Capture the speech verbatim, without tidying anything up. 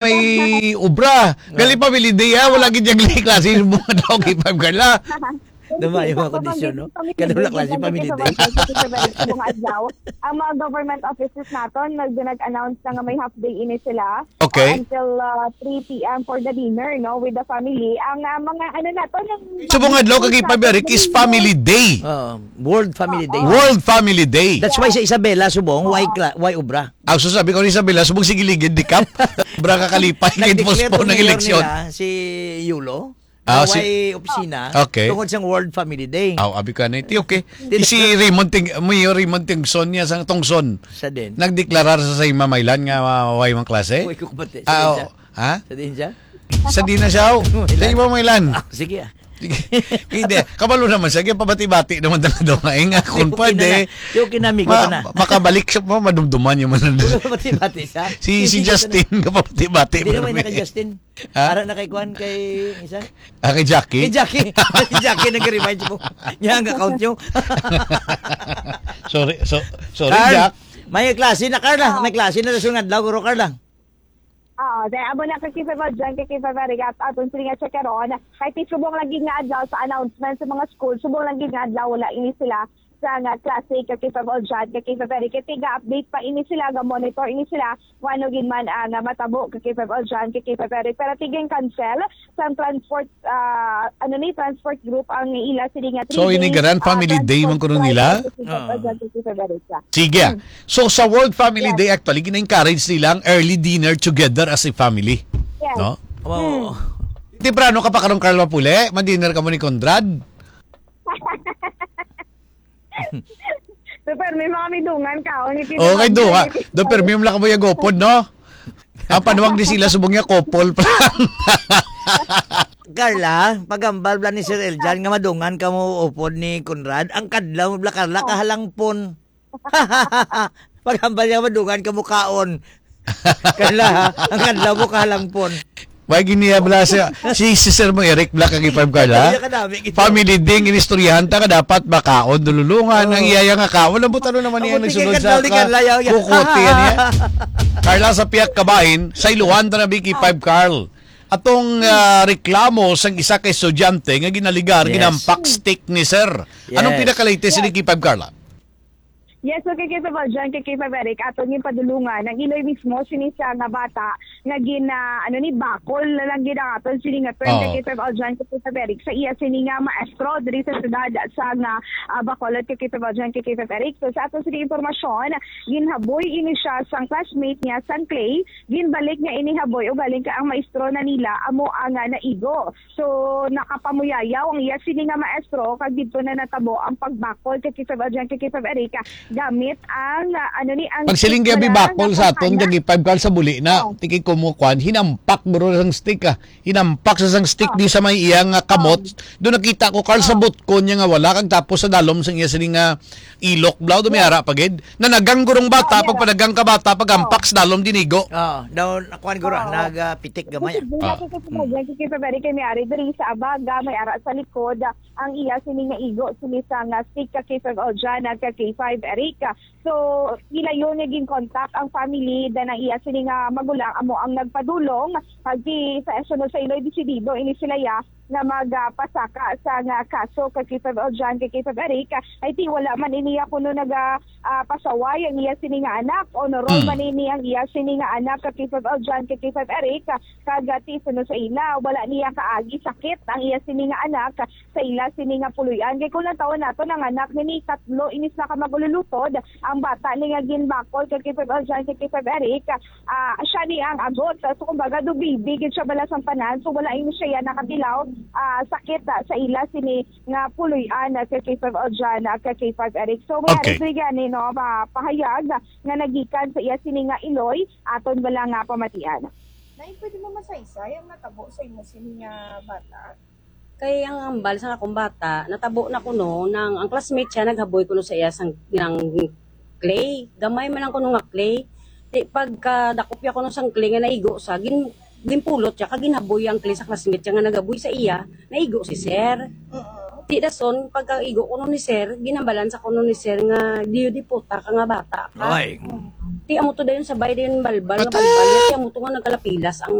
may obra. Gali family day, ah, wala gid yung klase yung mga dog, ipag gala. Dumayo ang kondisyon, no? Kaya wala klase family day. Sa mga adlaw, ang mga government offices naton, nag-, nag-announce na nga may half day ini sila. Okay. Uh, until, uh, three p m for the dinner, no, with the family. Ang, uh, mga ano naton, yung Sa mga adlaw, kag family day. Family Day. Oo, World Family Day. World Family Day. That's why sa Isabela, subong, why, why obra? Ang sasabi ko ni Isabela, subong sige ligid, di kap. Obra ka kalipay, kay postpone ang eleksyon. Nag-declare ang mayor nila, si Yulo. Ah, si Why opisina, okay. Tungod sang World Family Day. Aw, abi ka na iti, okay. Si Raymond Ting-, Mayor Raymond Tingson niya sang Tungson. Sa din. Nagdeklarar sa, sa Imamaylan nga, ah, way mang klase? Uy, kukubate. Sa din siya? Ha? Sa din siya? Sa din na siya, oh. Sa Imamaylan. Ah, sige, ah. Sige. Hindi, kabalo naman siya, kaya pabati-bati naman talaga daw nga, eh, nga, kung pwede, okay na. Yung kinamigo na. Makabalik siya, ma-, madumduman niya man. Pabati-bati siya. Si, si Justin, kapabati-bati. Hindi naman naka-Justin. Ha? Ara na kay Kwan, kay isa? Ah, kay Jackie? Kay Jackie. Kay Jackie, nag-remind mo. Niya ang account nyo. Sorry, so, sorry, Carl, Jack. May klase na, Carla. May klase na sa sunod adlaw, guro Carla. Oo, dahil amo na kay Kifa Valjean, kay Kifa Verigat, aton sila nga check karon. Kay ti subong lagi nga adlaw sa announcement sa mga school, subong lagi nga adlaw wala ini sila sa nga klase kay Kifa Valjean, kay Kifa Verigat. Kay tiga-update pa ini sila, ga-monitor ini sila, kung ano gid man ang, ah, matabo kay Kifa Valjean, kay Kifa Verigat. Pero tiging cancel sa transport, ah, ano ni, transport group ang ila sila nga three days, ah, transport flight kay Kifa Valjean, kay Kifa Verigat. Sige. Hmm. So, sa World Family Day, actually, gina-encourage nila ang early dinner together as a family. Yes. No? Wow. Hmm. Temprano ka pa karon, Carl Mapule? Ma-dinner ka mo ni Conrad? So, pero may mga midungan ka, oh, ni Tito Pablo. Okay, do, ha? Do, pero may mga kabuya gopod, no? Ang panuwag ni sila, subong niya, couple pa lang. Carla, pagambal bala ni Sir Eljan nga madungan ka mo upod ni Conrad, ang kadlaw mo bala, Carla, kahalangpon. Paghambal niya, madungan ka mo kaon. Kala, ang kadlaw mo kahalangpon. May giniya bala siya. Si, si Sir mo, Eric, bala kag five, Carla. Kaya kadami, gito. Family ding, inistoryahan ta ka dapat makaon, dululungan, ang iyaya nga kaon. Ang butano naman niya nagsunod sa ka-, kukote, ano yan? Carla, sa piyak kabahin, sa Iluhan, ta na, Vicky five, Carl. Atong, ah, reklamo sang isa ka estudyante nga ginaligar, ginampak stick ni Sir. Anong pinakalatest ni Vicky five, Carla? Yes, so kay K five Aljan, kay K five Eric, aton yung padulungan, ang iloy mismo sini sa nga bata nga gin, ah, ano ni, bakol na lang gid ang aton sini nga term kay K five Aljan, kay K five Eric, sa iya sini nga maestro diri sa syudad sa nga, ah, Bacolod, kay K five Aljan, kay K five Eric. So sa aton sini impormasyon, ginhaboy ini siya sang classmate niya sang Clay, ginbalik niya ini haboy, ugaling kay ang maestro na nila amo ang, ah, naigo. So, nakapamuyayaw ang iya sini nga maestro, kag didto na natabo ang pagbakol kay K five Aljan, kay K five Eric, gamit ang, ah, ano ni, ang stick na lang nga pagpangga. Pagsiling gabi bakol sa aton, kag K five Carl sa buli na, tiki ko mo kwan, hinampak bro sang stick, ah. Hinampak sa sang stick di sa may iya nga kamot. Doon nakita ko, Carl, sa butkon niya nga wala, kag tapos sa dalom sang iya sini nga ilok, bro, dumiara pa gid. Nanagang gurong bata, pagpanagang ka bata, pag-ampak sa dalom, dinigo. Oo, daw, nakuan guro, nagapitik gamay, ah. Kasi ginato ko sa mga dyan, kasi very kay may ari diri sa abag, ah, may ara sa likod, ah, ang iya sini nga igo, sini sa nga stick ka K five Aljan, nag ka K five Eric. So, ilayon nga gin-contact ang family, then ang iya sini nga magulang amo ang nagpadulong, pag di sa esunod sa iloy desidido, ini sila ya, nga magpasaka sa nga kaso kay K five Aljan, kay K five Eric. I think wala man ini ya kuno naga, ah, pasaway ang iya sini nga anak. Honorable man ini ang iya sini nga anak kay K five Aljan, kay K five Eric. Kag, ah, ti suno sa ila, wala niya kaagi sakit ang iya sini nga anak sa ila sini nga puloy-an. Kay kung natawon nato, ang anak nini tatlo inis na ka magululutod. Ang bata ni nga ginbakol kay K five Aljan, kay K five Eric, ah, siya ni ang agot. So, kumbaga, do baby gid siya bala sang tanan. So, wala ini siya yan nakatilaw, ah, sakit, ah, sa ila sini nga puloy-an, ah, kay K five Aljan, ah, kay K five Eric. So, may ari gani, no, ma-, pahayag nga nagikan sa iya sini nga iloy, aton bala nga pamatian. Nay, pwede mo masaysay ang natabo sa imo sini nga bata? Kay ang ambal sa akong bata, natabo na kuno nang ang classmate siya naghaboy kuno sa iya sang, nang clay. Gamay man lang kuno nga clay. Di, pagkadakop niya kuno sang clay nga naigo sa, gin-, ginpulot siya, kag ginhaboy ang clay sa classmate siya nga naghaboy sa iya, naigo si sir. Oo. Ti dason, pagkaigo kuno ni sir, ginhambalan sa kuno ni sir nga diyo diputa ka nga bata ka. Ay. Ti amo to dayon sabay dayon balbal nga Patay! balbal. Ti amo to nga nagkalapilas ang